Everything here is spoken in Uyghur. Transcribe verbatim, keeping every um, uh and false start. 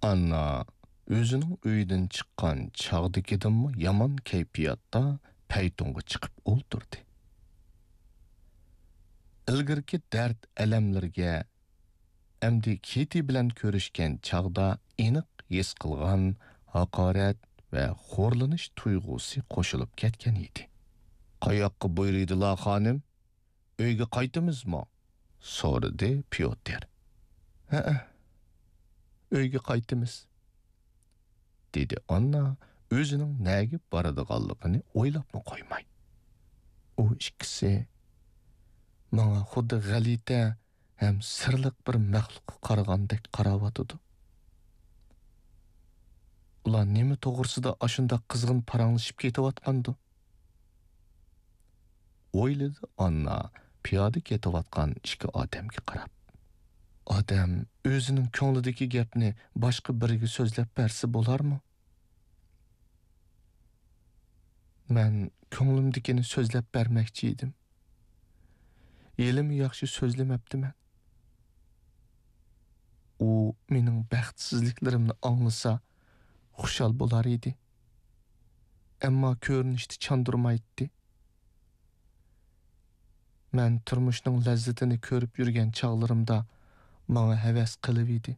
ئاننا ئۆزىنىڭ ئۆيىدىن چىققان چاغدىكىدىنمۇ يامان كەيپىياتتا پەيتۇنغا چىقىپ ئولتۇردى. ئىلگىرىكى دەرد-ئەلەملىرىگە ئەمدى كېتى بىلەن كۆرۈشكەن چاغدا ئېنىق ھېس قىلغان ھاقارەت ۋە خورلىنىش تۇيغۇسى قوشۇلۇپ كەتكەن ئىدى. «قاياققا بۇيرۇيدىلا، خانىم؟ ئۆيگە قايتىمىزمۇ؟» سورىدى پيوتىر. «ھەئە، ئۆيگە قايتىمىز»، دېدى ئاننا ئۆزىنىڭ نەگە بارىدىغانلىقىنى ئويلاپمۇ قويماي. ئۇ ئىككىسى ماڭا خۇددى غەلىتە ھەم سىرلىق بىر مەخلۇققا قارىغاندەك قاراۋاتىدۇ. ئۇلار نېمە توغرىسىدا ئاشۇنداق قىزغىن پاراڭلىشىپ كېتىۋاتقاندۇ؟ ئويلىدى ئاننا پىيادە كېتىۋاتقان ئىككى ئادەمگە قاراپ. ئادەم ئۆزىنىڭ كۆڭلىدىكى گەپنى باشقا بىرىگە سۆزلەپ بەرسە بولارمۇ؟ مەن كۆڭلۈمدىكىنى سۆزلەپ بەرمەكچى ئىدىم. ھېلىمۇ ياخشى سۆزلىمەپتىمەن. ئۇ مېنىڭ بەختسىزلىكلىرىمنى ئاڭلىسا، خۇشال بولار ئىدى. ئەمما كۆرۈنۈشتە چاندۇرمايتتى. مەن تۇرمۇشنىڭ لەززىتىنى كۆرۈپ يۈرگەن چاغلىرىمدا ماڭا ھەۋەس قىلىۋىدى.